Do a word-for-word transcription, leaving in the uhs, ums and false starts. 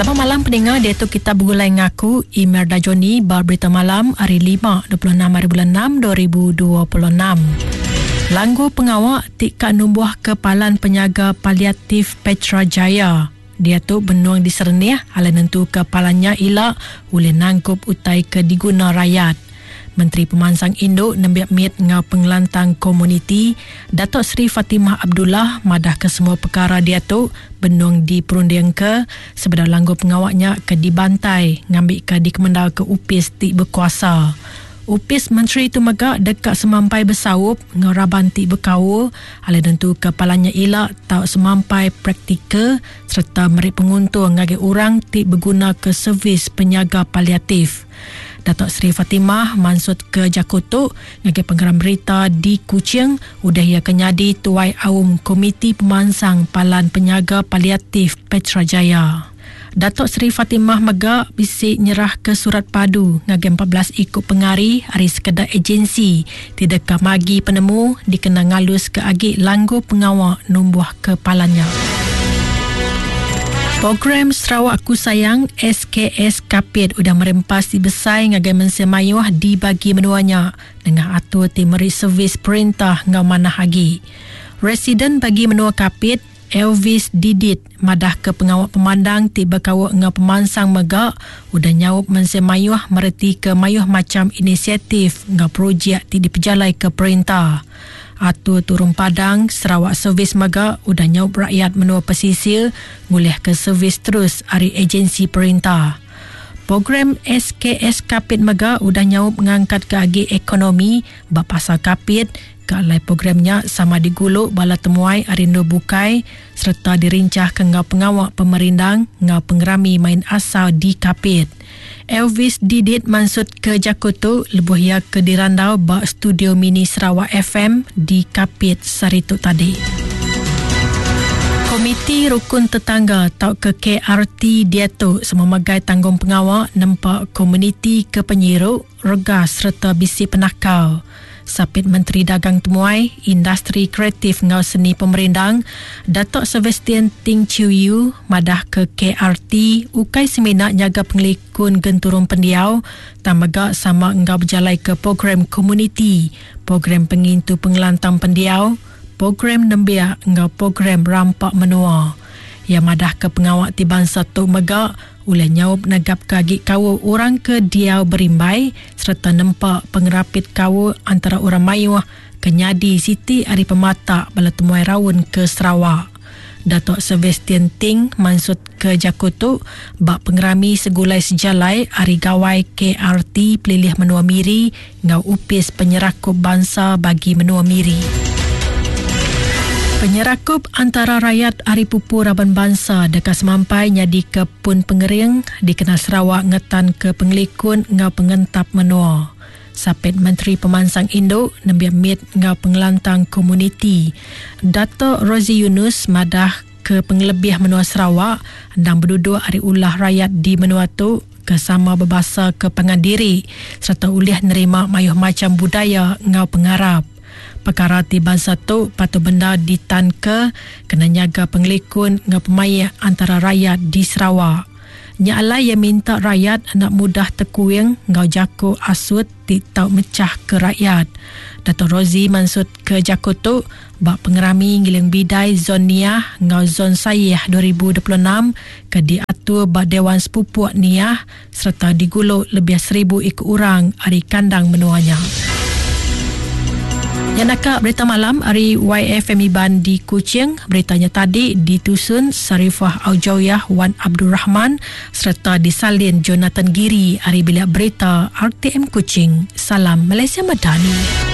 Selamat malam pendengar, dia tu kita bergulai ngaku Imerda Johnny bar berita malam hari lima dua puluh enam hari bulan enam dua ribu dua puluh enam. Langgu pengawak tika numbuh ke Palan Penyaga Paliatif Petra Jaya. Dia tu benuang disernih ala nentu ke palannya ila oleh nangkup utai ke diguna rakyat. Menteri Pemansang Induk Nembiak Mit Ngau Pengelantang Komuniti Datuk Seri Fatimah Abdullah madah ke semua perkara dia tu benung diperunding ke sebedau langgu pengawaknya ke dibantai ngambil ke dikemendal ke upis ti berkuasa. Upis Menteri itu mega dekat semampai bersaup ngau raban ti berkaul ala tentu kepalanya ila tau semampai praktikal serta meri penguntung ngagai orang ti berguna ke servis penyaga paliatif. Datuk Seri Fatimah mansut ke Jakoto ngagai penggeram berita di Kuching udah ia kenyadi tuai aum Komiti Pemansang Palan Penyaga Paliatif Petra Jaya. Datuk Seri Fatimah mega bisi nyerah ke surat padu ngagai empat belas ikut pengari hari sekedar agensi tidak magi penemu dikena ngalus ke agi langgu pengawak numbuh ke palannya. Program Sarawak Aku Sayang S K S Kapit udah merempas di besai ngagai mensia mayuh di bagi menuanya dengan atur ti meri servis perintah ngau manah agi. Residen bagi menua Kapit Elvis Didit madah ke pengawak pemandang ti berkawak ngau pemansang mega udah nyaup mensia mayuh mereti ke mayuh macam inisiatif ngau projek ti dipejalai ke perintah. Atur turun padang Sarawak Servis mega udah nyaup rakyat menua pesisir ngulih ke servis terus ari agensi perintah. Program S K S Kapit mega udah nyaup ngangkat ke agi ekonomi ba pasar Kapit ke alai programnya sama diguluk bala temuai ari nur bukai serta dirincah ke ngau pengawak pemerindang ngau pengerami main asal di Kapit. Elvis Didit mansut ke Jakoto lebuh ia ke dirandau ba studio mini Sarawak F M di Kapit saritu tadi. Komiti Rukun Tetangga atau ke K R T diatu semua megai tanggung pengawak nempak komuniti ke penyiruk, regas serta bisi penakal. Sapit Menteri Dagang Temuai, Industri Kreatif Ngau Seni Pemerindang, Datuk Sebastian Ting Chiu Yu madah ke K R T ukai semina nyaga pengelikun genturung pendiau, tamaga sama ngau berjalai ke program komuniti, program pengintu pengelantang pendiau, program nembiak ngau program rampak menua. Ia madah ke pengawak ti bangsa tu mega oleh nyaup negap kagi kawu orang ke diau berimbai serta nempak pengerapit kawu antara orang mayuh kenyadi Siti ari pematak bala temuai raun ke Sarawak. Datuk Sebastian Ting mansut ke Jakoto bak pengerami segulai sejalai ari gawai K R T Pelilih Menua Miri ngau upis penyerakup bangsa bagi Menua Miri. Penyerakup antara rakyat Ari Pupu Raban Bangsa dekat semampai nyadi ke pun pengering dikenal Sarawak ngetan ke pengelikun ngau pengentap menua. Sapit Menteri Pemansang Induk Nembiak Mit ngau Pengelantang Komuniti Datuk Rozi Yunus madah ke pengelebih menua Sarawak endang berduduk ari ulah rakyat di menua tu ke sama berbahasa ke pangan diri serta ulih nerima mayuh macam budaya ngau pengarap. Perkara ti bangsa tu patut benda ditanke kena nyaga pengelikun ngau pemaik antara rakyat di Sarawak. Nya alai yang minta rakyat anak mudah tekuing ngau jako asut ti tau mecah ke rakyat. Dato' Rozi mansut ke jako tu bak pengerami ngiling bidai Zon Niah ngau Zon Sayih dua ribu dua puluh enam ke diatur bak Dewan Sepupuk Niah serta diguluk lebih seribu ikut orang ari kandang menuanya. Yang nakak berita malam hari Y F M Iban di Kuching. Beritanya tadi ditusun Sarifah Aujawiyah Wan Abdul Rahman serta disalin Jonathan Giri hari bilik berita R T M Kuching. Salam Malaysia Madani.